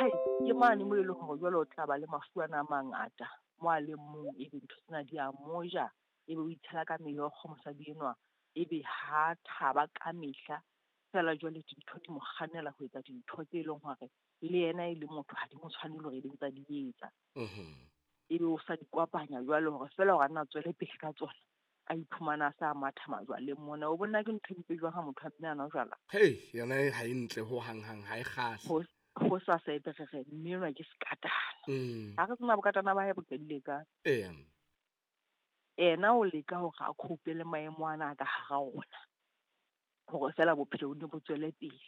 Hai, ke mane mo e leng hore jwale o tla ba le mafu ana a mangata mo a leng mong, ebe ntho tsena di a mo ja, ebe o itshela ka meokgo mosadi enwa, ebe ha thaba ka mehla. Feela jwale dintho di mo kgannela ho etsa dintho tse leng hore le yena e le motho ha di mo tshwanele hore ebe ntse a di etsa. Ebe o sa di kopanya jwale hore feela hore a nna tswele pele ka tsona, a iphumana a sa matha majwaleng mona. O bona ke ntho e mpe jwang ha motho a mme a nwa jwala? Hei, yona e ha e ntle ho hang hang, ha e kgahle. Ho sa sa ebe re re mme enwa ke sekatana. Ha re tsena bokatana ba hae bo qadile kae. Yena o leka hore a cope le maemo ana a ka hara ona, hore feela bophelo bo ne bo tswele pele.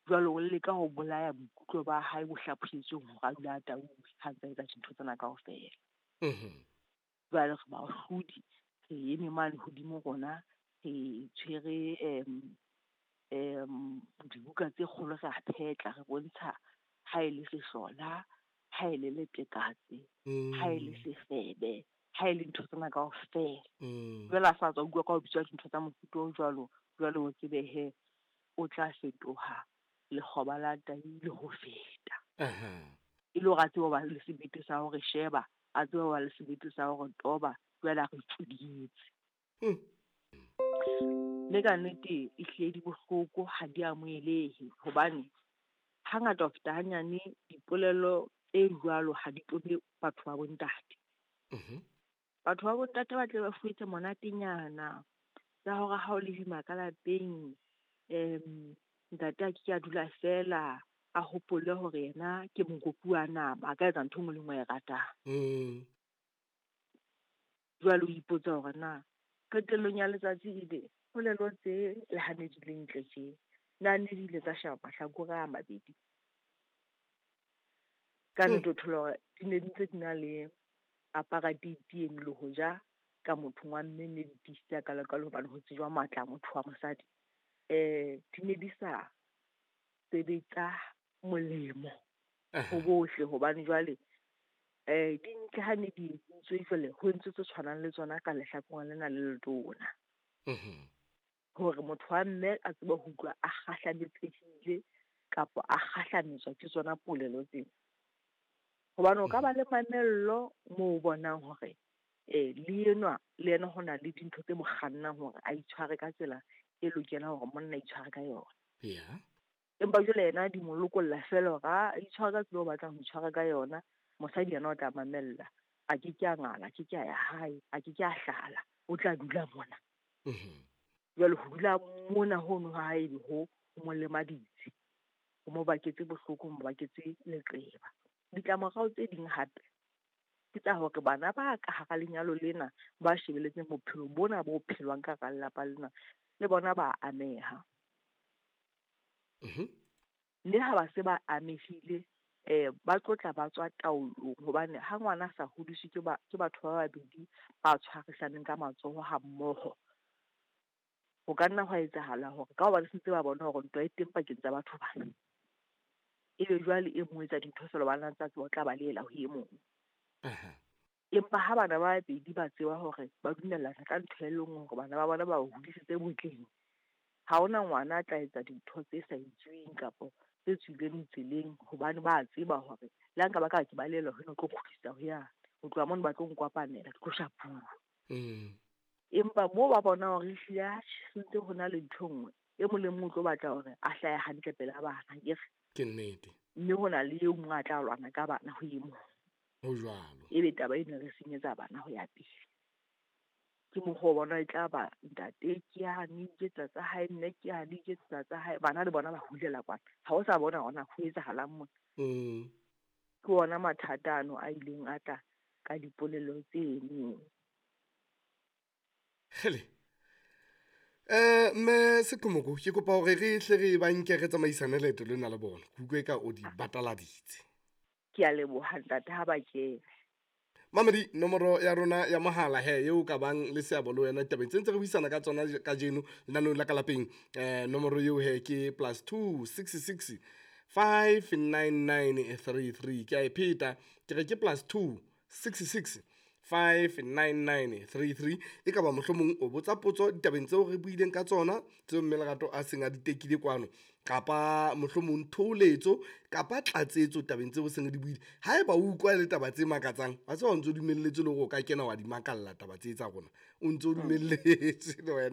Jwale o leka ho bolaya boikutlo ba hae bo hlaphohetsweng hore a dule a tauwe ha ntse a etsa dintho tsena kaofela. Jwale re bahlodi, re eme mane hodimo rona, re tshwere dibuka tse kgolo re a phetla, re bontsha ha e le sehlola, ha e le letekatse, ha e le sefebe, ha e le ntho tsena kaofela. Jwale a sa tswa utlwa ka ho bitswa dintho tsa mofuta o jwalo, jwale o tsebe he o tla fetoha lekgoba la tai le ho feta. E le hore a tsebe ho ba le sebete sa hore sheba, a tsebe ho ba le sebete sa hore toba, jwale a re tsweditse. Le ka nnete e hlile di bohloko, ha di amohelehe, hobane hangata ho feta hanyane dipolelo tse jwalo ha di tobe batho ba bontate. Batho ba bontate ba tle ba fuwe tse monatenyana tsa hore ha o le boima ka lapeng, ntate a ke ke a dula feela, a hopole hore yena ke mokopi wa nama, a ka etsa ntho e nngwe le e nngwe a e ratang. Jwale o ipotsa hore na qetellong ya letsatsi ebe polelo tse le ha ne di le ntle tje, na ne di ile tsa sheba mahlakore a mabedi. Ka nnete o thola hore di ne di ntse di na le apartheid eno le hoja ka mothong wa mme ne di tiisitse hakalo-kalo hobane ho tsejwa matla a motho wa mosadi. Di ne di sa sebetsa molemo ho bohle, hobane jwale di ntle ha ne di entswe jwale ho entswe tse tshwanang le tsona ka lehlakoreng lena le letona. Hore motho wa mme a tsebe ho utlwa a kgahlametsehile kapa a kgahlametswa ke tsona polelo tsena. Hobane o ka ba le mamello moo o bonang hore le enwa le yena ho na le dintho tse mo kgannang hore a itshware ka tsela e lokelang hore monna a itshware ka yona. Empa jwale yena di mo lokolla feela hore a itshware ka tsela o batlang ho itshwara ka yona, mosadi yena o tla mamella, a ke ke a ngala, a ke ke a ya hae, a ke ke a hlala, o tla dula mona. Jwale ho dula mona hono ha hae ebe ho mo lemaditse, ho mo baketse bohloko, ho mo baketse leqeba. Ditlamorao tse ding hape ke tsa hore bana ba ka hara lenyalo lena ba shebeletseng bophelo bona bo phelwang ka hara lelapa lena, le bona ba ameha. Mme ha ba se ba amehile, ba tlotla ba tswa taolong, hobane ha ngwana a sa hodiswe ke batho ba babedi ba tshwarisaneng ka matsoho ha mmoho, ho ka nna hwa etsahala hore ka hobane se ntse ba bona hore ntwa e teng pakeng tsa batho bana, ebe jwale e mong o etsa dintho feela hobane a ntse a tseba o tla balehela ho e mong. Empa ha bana ba babedi ba tseba hore ba dumellana ka ntho e le nngwe hore bana ba bona ba ba hodisitse botleng, ha hona ngwana a tla etsa dintho tse sa itsweng kapa tse tswileng tseleng, hobane ba tseba hore le ha nka ba ka ke balehela ho ena, o tlo kgutlisa ho yane. Ho tloha mono ba tlo nkopanela, ke tlo shapuwa. Empa moo ba bona hore ehlile atjhe, se ntse ho na le ntho e nngwe, e mong le mong o tlo batla hore a hlahe hantle pela bana, akere? Ke nnete. Mme ho na le e mong a tla lwana ka bana ho e mong. Ho jwalo. Ebe taba ena re senyetsa bana ho ya pele. Ke mokgwa o bona e tla ba ntate ke yane, iketsa tsa hae, mme ke yane, iketsa tsa hae. Bana le bona ba hulela kwana. Ha o sa bona hore na ho etsahalang mona. Ke ona mathata ano a ileng a tla ka dipolelo tseno. Hele. Mme Seqhomoko, ke kopa hore re hle re ba nke re tsamaisane leeto lena le bona. Ke utlwe ka o di bataladitse. Ke a leboha ntate ha ba kene. Mamedi, nomoro ya rona ya mohala he eo ka bang le seabo le wena ditabeng tse ntse re buisana ka tsona kajeno lenaneong la ka lapeng. Nomoro eo he ke +2 66 599 33. Ke a e pheta, ke re ke +2 66 599 33. E ka ba mohlomong o botsa potso ditabeng tseo re buileng ka tsona, tseo mme Lerato a seng a di tekile kwano, Kapa mohlomong thoholetso kapa tlatsetso tabeng tseo seng re di buile. Haeba o utlwa e le taba tse makatsang, wa tseba o ntso dumelletswe le hore o ka kena wa di makalla taba tse tsa rona. O ntso dumelletswe le wena.